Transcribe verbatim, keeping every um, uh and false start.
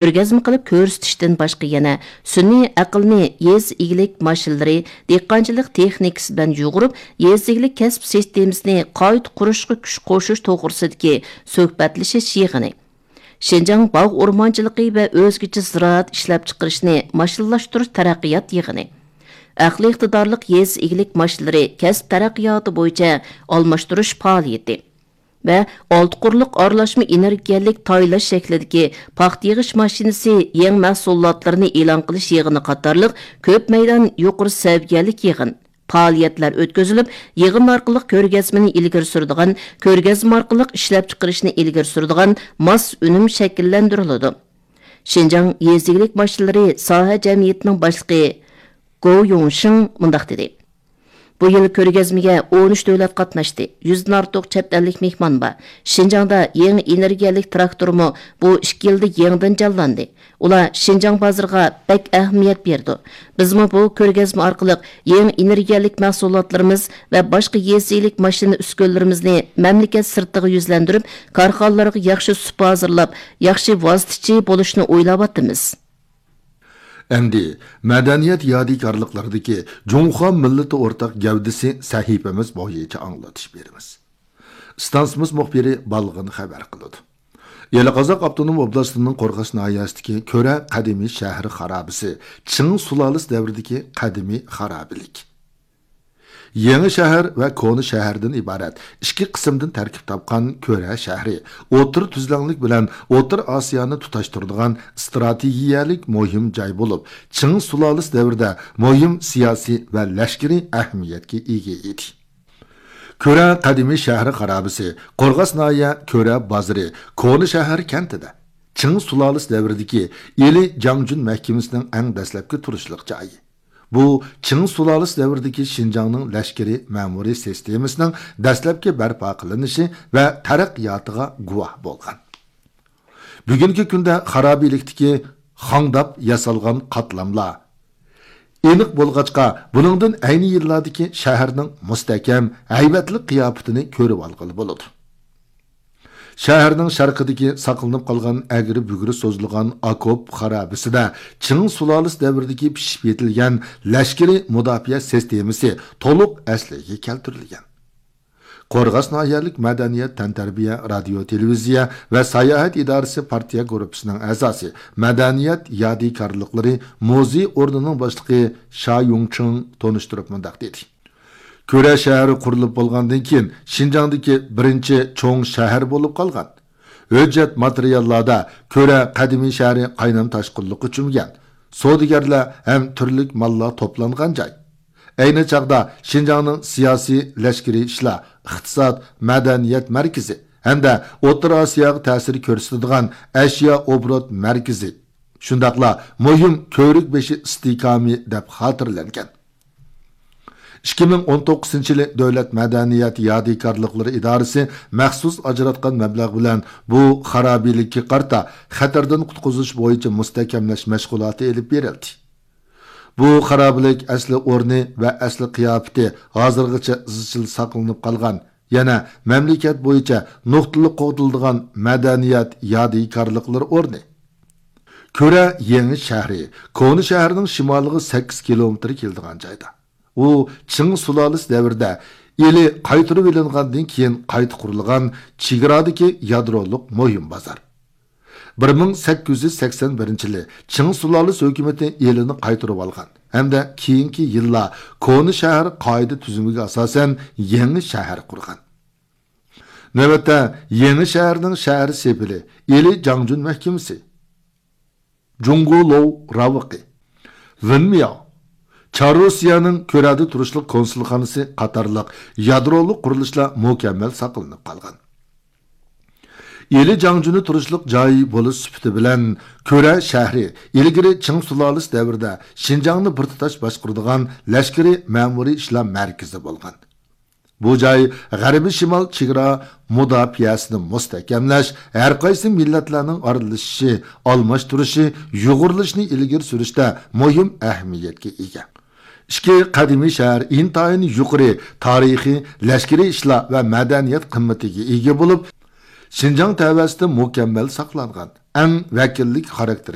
كۆرگەزمە قىلىپ كۆرسىتىشتىن باشقا يەنە سۈنئىي ئەقىلنى يېزا ئىگىلىك ماشىنىلىرى، دېھقانچىلىق تېخنىكىسى بىلەن يۇغۇرۇپ، يېزا ئىگىلىك كەسىپ سىستېمىسىنى قايتا قۇرۇشقا كۈچ قوشۇش توغرىسىدىكى سۆھبەتلىشىش يىغىنى، شىنجاڭ باغ ئورمانچىلىقى ۋە ئۆزگىچە زىرائەت ئىشلەپچىقىرىشنى ماشىنىلاشتۇرۇش تەرەققىيات يىغىنى، ئەقلىي ئىقتىدارلىق يېزا ئىگىلىك ماشىنىلىرى كەسىپ تەرەققىياتى بويىچە ئالماشتۇرۇش پائالىيىتى ۋە ئالتە قۇرلۇق ئارىلاشما ئېنېرگىيەلىك تايلاش شەكلىدىكى پاختا يىغىش ماشىنىسى يېڭى مەھسۇلاتلىرىنى ئېلان قىلىش يىغىنى قاتارلىق كۆپ مەيدان يۇقىرى سەۋىيەلىك يىغىن، پائالىيەتلەر ئۆتكۈزۈلۈپ، يىغىن ئارقىلىق كۆرگەزمىنى ئىلگىرى سۈرىدىغان، كۆرگەزمە ئارقىلىق ئىشلەپچىقىرىشنى ئىلگىرى سۈرىدىغان ماس ئۈنۈم شەكىللەندۈرۈلىدۇ. شىنجاڭ يېزا ئىگىلىك ماشىنىلىرى ساھە جەمئىيىتىنىڭ باشلىقى گو يۇڭشىڭ مۇنداق دېدى: بۇ يىل كۆرگەزمىگە ئون ئۈچ دۆلەت قاتناشتى، يۈزدىن ئارتۇق چەت ئەللىك مېھمان بار. شىنجاڭدا يېڭى ئېنېرگىيەلىك تىراكتورمۇ بۇ ئىككى يىلدا يېڭىدىن جانلاندى. ئۇلار شىنجاڭ بازىرىغا بەك ئەھمىيەت بېرىدۇ. بىزمۇ بۇ كۆرگەزمە ئارقىلىق يېڭى ئېنېرگىيەلىك مەھسۇلاتلىرىمىز ۋە باشقا يېزا ئىگىلىك ماشىنا ئۈسكۈنىلىرىمىزنى مەملىكەت سىرتىغا يۈزلەندۈرۈپ، كارخانىلارغا ياخشى سۇپا ھازىرلاپ، ياخشى ۋاسىتىچى بولۇشنى ئويلاۋاتىمىز. ئەمدى مەدەنىيەت يادىكارلىقلىرىدىكى جۇڭخۇا مىللىتى ئورتاق گەۋدىسى سەھىپىمىز بويىچە ئاڭلىتىش بېرىمىز. ئىستانسىمىز مۇخبىرى بالغىن خەۋەر قىلىدۇ. ئىلى قازاق ئاپتونوم ئوبلاستىنىڭ قورغاس ناھىيەسىدىكى كۆرە قەدىمىي شەھەر خارابىسى، چىڭ سۇلالىسى دەۋرىدىكى قەدىمىي خارابىلىك. يېڭى شەھەر ۋە كونا شەھەردىن ئىبارەت ئىككى قىسىمدىن تەركىب تاپقان كۆرە شەھىرى ئوتتۇرا تۈزلەڭلىك بىلەن ئوتتۇرا ئاسىيانى تۇتاشتۇرىدىغان ئىستراتېگىيەلىك مۇھىم جاي بولۇپ، چىڭ سۇلالىسى دەۋرىدە مۇھىم سىياسىي ۋە لەشكىرىي ئەھمىيەتكە ئىگە ئىدى. كۆرە قەدىمىي شەھەر خارابىسى، قورغاس ناھىيە كۆرە بازىرى، كونا شەھەر كەنتىدە چىڭ سۇلالىسى دەۋرىدىكى ئىلى جاڭجۈن مەھكىمىسىنىڭ ئەڭ دەسلەپكى تۇرۇشلۇق جايى. بۇ چىڭ سۇلالىسى دەۋرىدىكى شىنجاڭنىڭ لەشكىرىي مەمۇرىي سىستېمىسىنىڭ دەسلەپكى بەرپا قىلىنىشى ۋە تەرەققىياتىغا گۇۋاھ بولغان. بۈگۈنكى كۈندە خارابىلىكتىكى خاڭداپ ياسالغان قاتلاملار ئېنىق بولغاچقا، بۇنىڭدىن ئەينى يىللاردىكى شەھەرنىڭ مۇستەھكەم، ھەيۋەتلىك قىياپىتىنى كۆرۈۋالغىلى بولىدۇ. شەھەرنىڭ شەرقىدىكى ساقلىنىپ قالغان ئەگرى-بۈگرى سوزۇلغان ئاكوپ خارابىسىدە چىڭ سۇلالىسى دەۋرىدىكى پىشىپ يېتىلگەن لەشكىرىي مۇداپىئە سىستېمىسى تولۇق ئەسلىگە كەلتۈرۈلگەن. قورغاس ناھىيەلىك مەدەنىيەت، تەنتەربىيە، رادىيو، تېلېۋىزىيە ۋە ساياھەت ئىدارىسى پارتىيە گۇرۇپپىسىنىڭ ئەزاسى، مەدەنىيەت يادىكارلىقلىرى مۇزېي ئورنىنىڭ باشلىقى شا يۇڭچىڭ تونۇشتۇرۇپ مۇنداق دېدى: كۆرە شەھىرى قۇرۇلۇپ بولغاندىن كېيىن، شىنجاڭدىكى بىرىنچى چوڭ شەھەر بولۇپ قالغان. ھۆججەت ماتېرىياللاردا كۆرە قەدىمىي شەھىرى قاينام تاشقىنلىققا چۆمگەن، سودىگەرلەر ھەم تۈرلۈك ماللار توپلانغان جاي. ئەينى چاغدا شىنجاڭنىڭ سىياسىي، لەشكىرىي ئىشلار، ئىقتىساد، مەدەنىيەت مەركىزى ھەمدە ئوتتۇرا ئاسىياغا تەسىر كۆرسىتىدىغان ئەشيا ئوبوروت مەركىزى، شۇنداقلا مۇھىم كۆۋرۈك بېشى ئىستىھكامى دەپ خاتىرىلەنگەن. ئىككى مىڭ ئون توققۇزىنچى يىلى دۆلەت مەدەنىيەت يادىكارلىقلىرى ئىدارىسى مەخسۇس ئاجراتقان مەبلەغ بىلەن بۇ خارابىلىككە قارىتا خەتەردىن قۇتقۇزۇش بويىچە مۇستەھكەملەش مەشغۇلاتى ئېلىپ بېرىلدى. بۇ خارابىلىك ئەسلى ئورنى ۋە ئەسلى قىياپىتى ھازىرغىچە ئىزچىل ساقلىنىپ قالغان، يەنە مەملىكەت بويىچە نۇقتىلىق قوغدىلىدىغان مەدەنىيەت يادىكارلىقلىرى ئورنى. كۆرە يېڭى شەھىرى كونا شەھەرنىڭ شىمالىغا سەككىز كىلومېتىر كېلىدىغان جايدا. ئۇ چىڭ سۇلالىسى دەۋرىدە ئىلى قايتۇرۇۋېلىنغاندىن كېيىن قايتا قۇرۇلغان چېگرادىكى يادرولۇق مۇھىم بازار. بىر مىڭ سەككىز يۈز سەكسەن بىرىنچى يىلى چىڭ سۇلالىسى ھۆكۈمىتى ئىلىنى قايتۇرۇۋالغان ھەمدە كېيىنكى يىللار كونا شەھەر قائىدە تۈزۈمىگە ئاساسەن يېڭى شەھەر قۇرغان. نۆۋەتتە يېڭى شەھەرنىڭ شەھەر سېپىلى، ئىلى جاڭجۈن مەھكىمىسى، جۇڭگولوۋ راۋىقى، ۋېنمياۋ، چاررۇسىيەنىڭ كۆرەدە تۇرۇشلۇق كونسۇلخانىسى قاتارلىق يادرولۇق قۇرۇلۇشلار مۇكەممەل ساقلىنىپ قالغان. ئىلى جاڭجۈنى تۇرۇشلۇق جاي بولۇش سۈپىتى بىلەن كۆرە شەھىرى ئىلگىرى چىڭ سۇلالىسى دەۋرىدە شىنجاڭنى بىر تۇتاش باشقۇرىدىغان لەشكىرىي مەمۇرىي ئىشلار مەركىزى بولغان. بۇ جاي غەربىي شىمال چېگرا مۇداپىئەسىنى مۇستەھكەملەش، ھەرقايسى مىللەتلەرنىڭ ئارىلىشىشى، ئالماشتۇرۇشى، يۇغۇرۇلۇشىنى ئىلگىرى سۈرۈشتە مۇھىم ئەھمىيەتكە ئىگە. ئىككى قەدىمىي شەھەر ئىنتايىن يۇقىرى تارىخىي، لەشكىرىي ئىشلار ۋە مەدەنىيەت قىممىتىگە ئىگە بولۇپ، شىنجاڭ تەۋەسىدە مۇكەممەل ساقلانغان ئەڭ ۋەكىللىك خاراكتېر